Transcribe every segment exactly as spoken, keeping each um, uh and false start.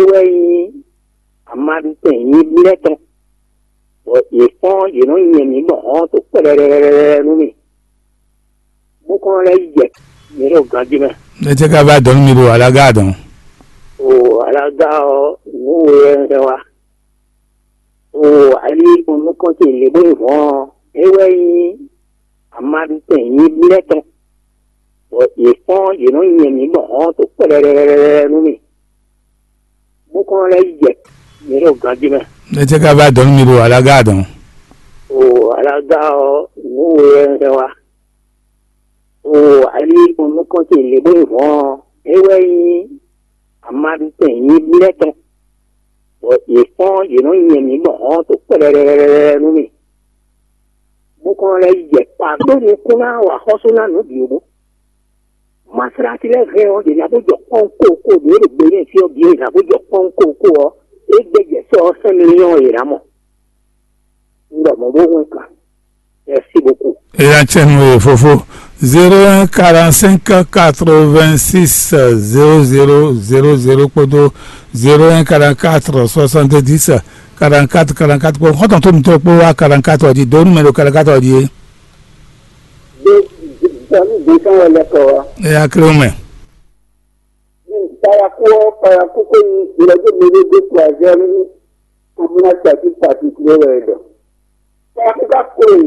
wɛ nyí amaɖutɛn nyibú lɛ́ɛ tɔn, bɔ yě fɔ́n yě nɔ nyɛ mǐ gbɔn hɔn to kpɛɖɛɖɛɖɛɖɛ nú mì, bó kɔn lɛ́ yi jɛ mǐ ɖo ganjí mɛ. Ne tɛ ka va dɔn nú mi ɖo alaga dɔn. O alaga ɔ́, nǔ we wɛ un hɛn wá. O ali nukɔn ce lě bó nyí hɔn ɔ́, é wɛ nyí amaɖutɛn nyibú lɛ́ɛ tɔn, bɔ yě fɔ́n yě nɔ nyɛ mǐ gbɔn hɔn to kpɛɖɛɖɛɖɛɖɛ nú mì, bó kɔn lɛ́ yi jɛ mǐ ɖo ganjí mɛ. Ne tɛ ka va dɔn nú mi ɖo alaga dɔn. O alaga ɔ́, nǔ we wɛ un hɛn wá. O ali nukɔn ce lě bó nyí hɔn ɔ́, é wɛ nyí amaɖutɛn nyibú lɛ́ɛ tɔn, bɔ yě fɔ́n yě nɔ nyɛ mǐ gbɔn hɔn to kpɛɖɛɖɛɖɛɖɛ nú mì, bó kɔn lɛ́ yi jɛ kpa ɖó nukún ná wa xɔ́sú ná nǔ bǐ ó. Maslati lɛ́ɛ hɛn ɔ́, yě ná bó jɔ kpɔ́n kókó ɖě ɖo gbe n'i fí ɔ́ bǐ, yě ná bó jɔ kpɔ́n kókó ɔ́, é gbɛ́ jɛ sɔ́ ɔ́ sɛ́n miliyɔn yě ná mɔ. Un ɖɔ mɔ̌ bó hwɛ́n kan. Merci beaucoup. Eya cɛ nú e fofo. Zéro un quarante-cinq quatre-vingt-six zéro zéro zéro zéro kpódó zéro un quarante-quatre soixante-dix quarante-quatre quarante-quatre kpó xɔ́ntɔn tó mitɔ́ kpó wá quarante-quatre ɔ́ jí, dó numero quarante-quatre ɔ́ jí é. Dɔnni gbèsè wɛ lɛ kɔ wa. Eya kéré mɛ. Paraku ɔ, paraku ko ni ìrọ̀jò mi ló dé kó azẹ́ ní kòmínà tàbí pàtìkì ló wẹ̀ dọ̀. Paraku ká kó e,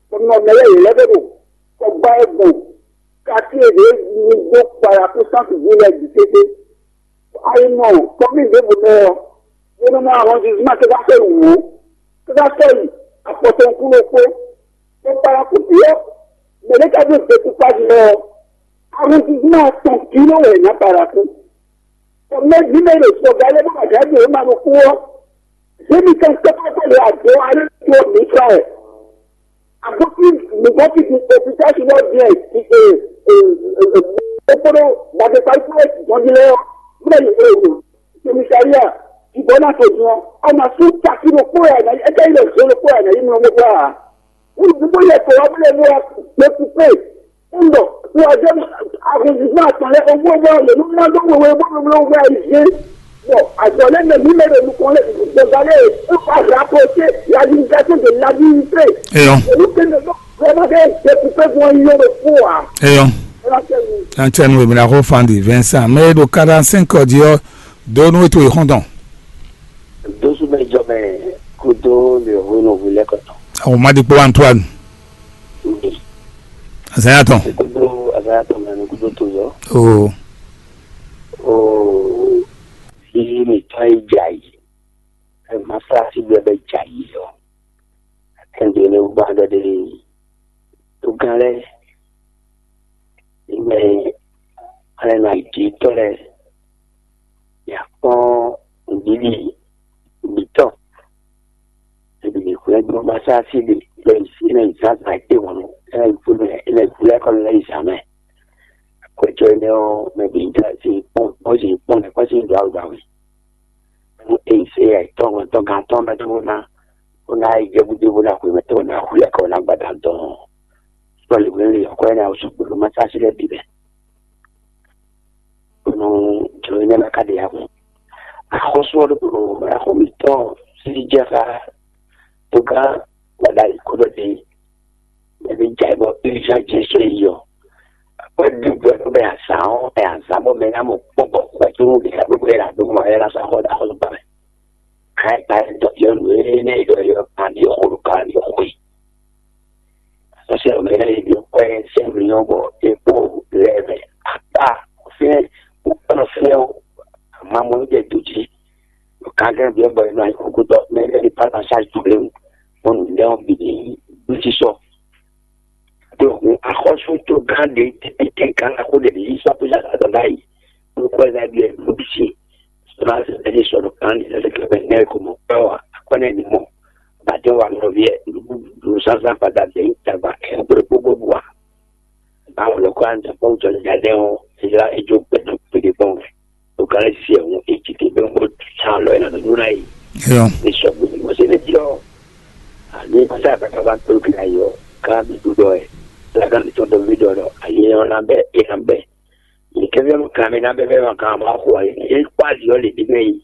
kòmínà mẹ́lẹ́ yìí lẹ́bẹ̀ẹ́ bò, kò gbá ẹ gbọ̀n, kàkí èdè ní dó paraku sáfì jí lẹ dì tètè. Ayi mɔ, kòmí dé bò mẹ́ ọ, yẹn mọ arrondissement kí ká fẹ́ wò ó, kí ká fẹ́ yìí, àpọ̀tọ̀ nkú ló kpó. Kò paraku bí ọ, mẹ́lẹ́ ká dé découpage lọ, arrondissement tɔn kí ló wẹ̀ ná paraku. Mɛ vǐ mɛ ɖo sɔgba lɛ́ɛ bó ma jǎ ɖe ma ɖo kú ɔ́, zěmi kan kpɛ́kpɛ́kpɛ́ ɖo ado alé tó mi sɔ ɛ. Abókí nǔgbó fi di òkúta si lɔ diɛ kpódó gbadé parí kúrò dɔn jí lɛ ɔ́, mɛ komisariya jibɔ na to dun ɔ́, ɔmà sú taki ɖo kpó ya na é ká yi lɔ zó ɖo kpó ya na yi mlɔ mɔ gbá. Wúlùkútó yɛ kɔ wá bílẹ̀ ní wa gbé kúkú. Ń bọ̀, wọ́n jẹ́ àgùnjìgbọ́n àtọ̀lẹ́ owó owó lè ní má dó wéwé bó ló wá ìdí. Bọ̀, àtọ̀lẹ́ mẹ mí mẹ́rẹ̀ olùkọ́ lè gbọ̀ngàn lè ń pa rapproché l'administration de l'administré. Eyɔn. Èyí pé ní ọjọ́ wọn máa fẹ́ jẹ kúkú fún wọn yóò fún wa. Eyɔn. Ẹ máa tẹ̀ wù. An tɛ nu èmi na xɔ fan di Vincent, mɛ e ɖo quarante-cinq ɔ́ jí ɔ́, dó nú ètò ìxɔntɔn. Dósú bɛ jɔ mɛ kúdó lè hu nɔ hu lɛ kɔtɔ. Àwọn ọmọdé pé wà ń tó àná. Azanya tɔn. Kúdó azanya tɔn mɛ kúdó tó yọ. Oo. Oo. Bí mi tọ́ ẹ jà yìí, ẹ má fara sí bí ẹ bẹ jà yìí yọ. Ẹ ń dè ní gbọ́n dɔ dé tó gán lẹ. Ìgbẹ́ alẹ́ nà jí tọ́ lẹ. Yà kpɔ́n nǔɖiɖi gbǐtɔ́. Ebi lè xwlɛ́ gbé ɔ́, ma sá sí ɖe lɔ yi sí, é ná yi zǎnzǎn é wǎn nú, é ná yi kpódó ɛ, é ná yi kpódó ɛkɔ́ lɛ́ yi zǎn mɛ. Akwɛ́jɔ énɛ́ ɔ́, mɛ bǐ ní dó así kpɔ́n, bó sì kpɔ́n nɛ́ kɔ́ sí ɖǒ awu ɖo awu. Nú é yi sé ayǐ tɔ́ hɔn tɔ́ gán tɔ́ mɛ tó bó ná, bó ná yi jɛ gúdo bó ná xwé mɛ tó bó ná xwlɛ́ kɔ ná gbada dɔn. Sɔ́ lě hwenu lě ɔ́, kɔ́ énɛ́ ɔ́ sɔgbe ɖo ma sá sí lɛ́ɛ bǐ mɛ. Nú jǒ énɛ́ ná ka ɖe agun. Axɔ́sú ɔ́ ɖokpó axɔ́mítɔn sí jɛ xá tógán gbadá yǐ kó ɖɔ ɖe mɛ bí jɛ bɔ urgent jɛ sɔ́ yi ɔ́. Akwɛ́ ɖígbɔ ɛ bɛ azǎn ɔ́ ɛ azǎn bɔ mɛ ná mɔ kpɔ́ bɔ xwɛ tó nú ɖě ká gbogbo ɛ là dó mɔ ɛ ná sɔ́ xɔ ɖo axɔ́sú gbà mɛ. Ká ɛ gbá ɛ dɔ yɔ nǔ énɛ́ yɔ yɔ kan ní xo ɖo kan ní xo yi. Sɔ́sɛ́ mɛ lɛ́ɛ yi ɖo kwɛ́ sɛ́n mǐnyɔ́ bɔ é kpó lɛ́ɛ mɛ akpá fínɛ́ kpókpɔ́nɔ fínɛ́ ɔ́, amamɔ ló jɛ do jí. Ɖo kangɛ́n byɔ́ bɔ è nɔ anyi xóxótɔ́ mɛ lɛ́ɛ ɖi pálá sáà ju lé wu, bɔ nǔ lɛ́ɛ ɔ́ bǐ ní ɖó jí sɔ. Ɖo hun axɔ́sútó gán ɖé tɛ́tɛ́ gán axó ɖé ɖě yí sɔ́ kpé zǎn azɔ̌ ɖ'ayǐ, bó kɔ́ ɛ ná ɖu ɛ lǒbísí. Sɔ́ ná sɛ́ ní sɔ́ ɖo kan ní sɛ́ kɛ́ mɛ nɛ́ ko mɔ kpɛ́ ɔ́ ǎ, akwɛ́ nɛ́ ní mɔ. Bǎ jɛ́n wa nɔ vǐ ɛ, nǔɖuɖu sásá gbada jɛ nyí tagba ɛ kplé kpókpó bú ǎ. Bá wǔ lɔ kó anza kpɔ́n wú jɔ ní ɖaɖɛ ɔ́, é jlá é jó gbɛdɔ kpéɖé kpɔ́n wɛ. Ɖo kan lɛ́ sisi ɛ hɔn é jí ké bɛ́ bó sán alɔ ɛ nɔ nǔ ná yi. Eyɔn. Ní sɔgbe ní mɔ sɛnɛ jí ɔ́. Àní pátá àbáká bá tó kí ayé ɔ́, ká bí dúdɔ ɛ. Lágá mi tɔn dɔ mí dɔ dɔ ayé ɔ́ ná bɛ é ná bɛ. Ní kɛ́fẹ́ mɔ kan mi ná bɛ bɛ mɔ kan mɔ xo ayé. É kpá ali ɔ́ lě bí mɛ yi.